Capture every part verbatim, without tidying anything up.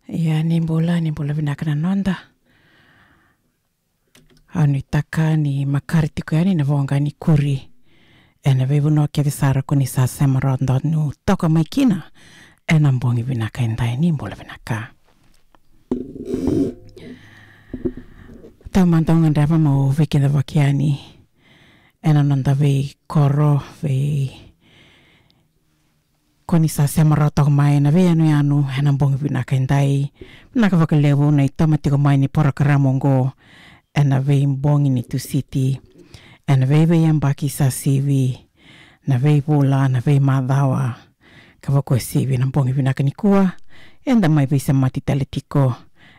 Ia ni bula, ni bula vinaka na noda. Au nuitaka ni makare tiko yani na voqa ni Koori ena veivanua kece sara ko ni sa sema rawa donu toka mai kina ena bogi vinaka edai. Ni bula vinaka. Taumada au gadreva meu veikidavaki yani ena noda veikoro, vei ko ni sa sema rawa toka mai na veiyanuyanu ena bogi vinaka edai. Vinaka vakalevu na itoma tiko mai ni porokaramu oqo ena veibogi ni Tusiti, ena veiveiyabaki sa sivi, na veivula, na veimacawa, ka vakauasivi na bogi vinaka nikua. Eda mai veisemati tale tiko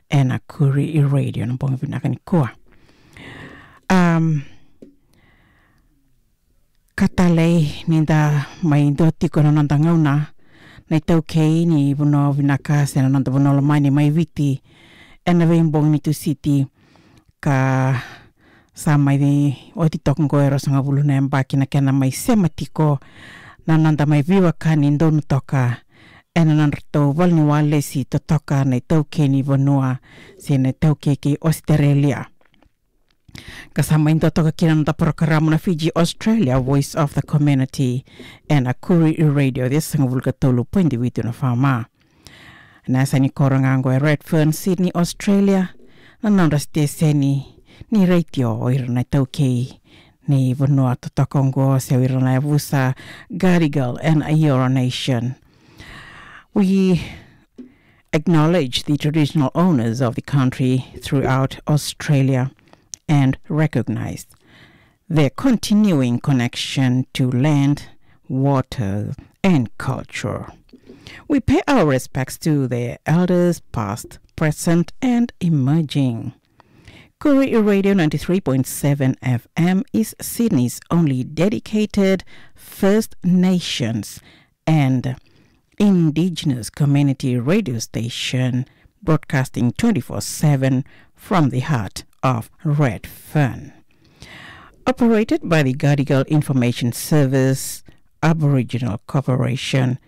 ena Koori Radio na bogi vinaka nikua. Am, ka talei ni da mai dua tiko na noda gauna, na itaukei ni vanua vinaka se na noda vanua lomani mai Viti ena veibogi ni Tusiti, ka sa mai oti toka oqo e ruasagavulu na yabaki na kena mai sema tiko na noda mai veiwekani donu toka ena nodratou vale ni walesi totoka na itaukei ni vanua se na itaukei kei Ositerelia. Ka sa mai dua toka kina na noda porokaramu na Fiji Australia Voice of the Community ena Koori Radio, ciwasagavulu ka tolu poidi vitu na FM. Na yasa ni koro ga oqo e Redfern, Sydney, Australia, na nodra siteseni ni retio o ira na itaukei ni vanua totoka oqo se o ira na yavusa Gadigal and Eora Nation. We acknowledge the traditional owners of the country throughout Australia and recognise their continuing connection to land, water, and culture. We pay our respects to their elders, past, present, and emerging. Koori Radio ninety-three point seven FM is Sydney's only dedicated First Nations and Indigenous community radio station, broadcasting twenty-four seven from the heart of Redfern. Operated by the Gadigal Information Service Aboriginal Corporation,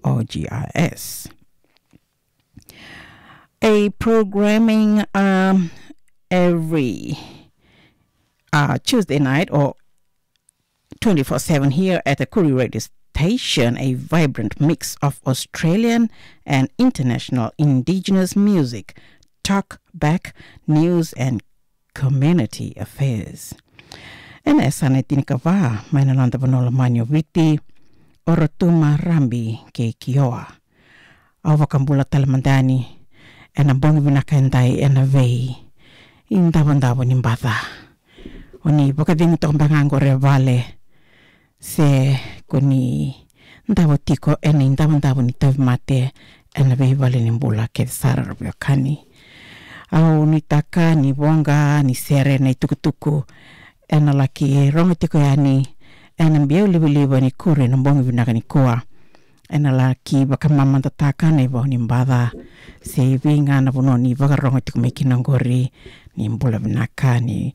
or G I S. A programming, um, every, uh, Tuesday night or twenty-four seven here at the Koori Radio Station, a vibrant mix of Australian and international Indigenous music, talk back, news and community affairs. Ena yasana e tinikava mai na noda vanua lomani o Viti, o Rotuma, Rabi kei Kioa. Au vakabula tale mada yani ena bogi vinaka edai ena veidavodavo ni baca. O ni vakacegu toka beka ga qori e vale, se ko ni davo tiko ena idavodavo ni tauvimate ena veivale ni bula kece sara, ra veiwekani. Au nuitaka ni voqa ni sere na itukutuku ena laki rogo tiko yani ena biau livaliva ni Koori ena bogi vinaka nikua. Ena laki vakamamadataka na ivau ni baca se evei ga na vanua ni vakarogo tiko mai kina oqori. Ni bula vinaka, ni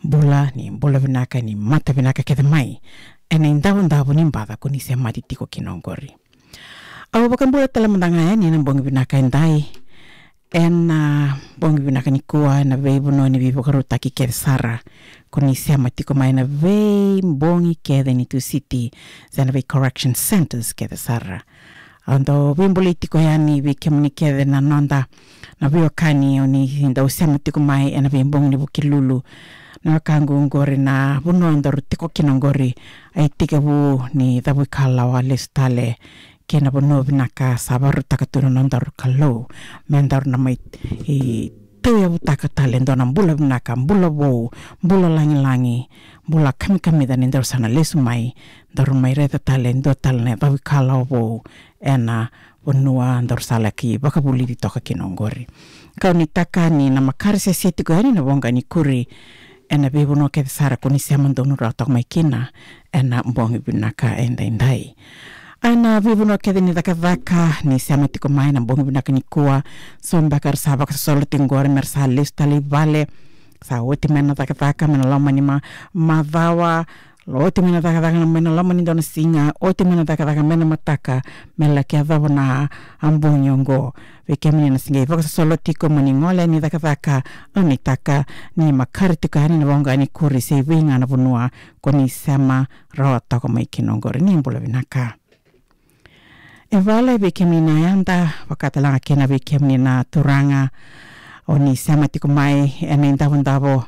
bula, ni bula vinaka, ni mata vinaka kece mai ena idavodavo ni baca ko ni semati tiko kina oqori. Au vakabula tale mada ga yani ena bogi vinaka edai, ena bogi vinaka nikua, ena veivanua ni veivakarautaki kece sara ko ni sema tiko mai ena veibogi kece ni Tusiti, se na vei correction centres kece sara. Au dau veibolei tiko yani vei kemuni kece na noda, na veiwekani o ni dau sema tiko mai ena veibogi ni Vukelulu. Na wekaqu oqori na vanua daru tiko kina oqori, a itekivu ni cavuikalawa lesu tale kei na vanua vinaka sa vakarautaka tu na nodaru Kalou me daru na mai, e, tauyavutaka tale e dua na bula vinaka, bula vou, bula lagilagi, bula kamikamica ni daru sa na lesu mai, daru mai raica tale e dua tale na cavuikalawa vou ena vanua daru sa laki vakavulici toka kina oqori. Kau nuitaka ni na makare sese tiko yani na voqa ni Koori ena veivanua kece sara ko ni sema donu rawa toka mai kina ena bogi vinaka edaidai. Ena veivanua kece ni cakacaka ni sema tiko mai ena bogi vinaka nikua, so beka era sa vakasosolo tiko oqori me ra sa lesu tale i vale, sa oti mai na cakacaka, me na loma ni ma-, macawa, Oti mai na cakacaka mai na loma ni dua na siga, oti mai na cakacaka mai na mataka, me laki yacova na bogi oqo. Vei kemuni na se qai vakasosolo tiko mo ni gole ni cakacaka, au nuitaka ni makare tiko yani na voqa ni kuri se vei ga na vanua ko ni sema rawa toka mai kina oqori. Ni bula vinaka. E vale vei kemuni na yada, vakatalega kina vei kemuni na turaga o ni sema tiko mai ena idavodavo.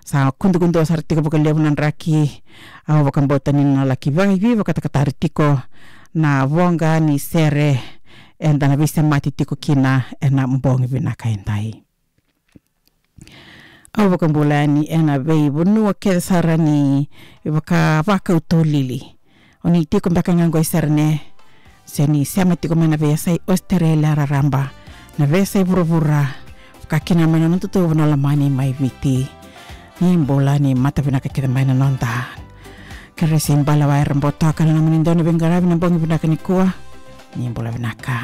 Sa kudukudu sara tiko vakalevu na draki. Au vakabauta ni na laki vakaivakatakatari tiko na voqa ni sere eda na veisemati tiko kina ena bogi vinaka edai. Au vakabula yani ena veivanua kece sara ni vaka, vakau tolili. O ni tiko beka ga qo i Serene, se ni sema tiko mai na veiyasai Australia raraba, na veiyasai vuravura, vaka kina mai na noda itovo na lomani mai Viti. Ni bula, ni mata vinaka kece mai na noda keresi balawa era botoka na nomuni dau ni veiqaravi na bogi vinaka nikua. Ni bula vinaka.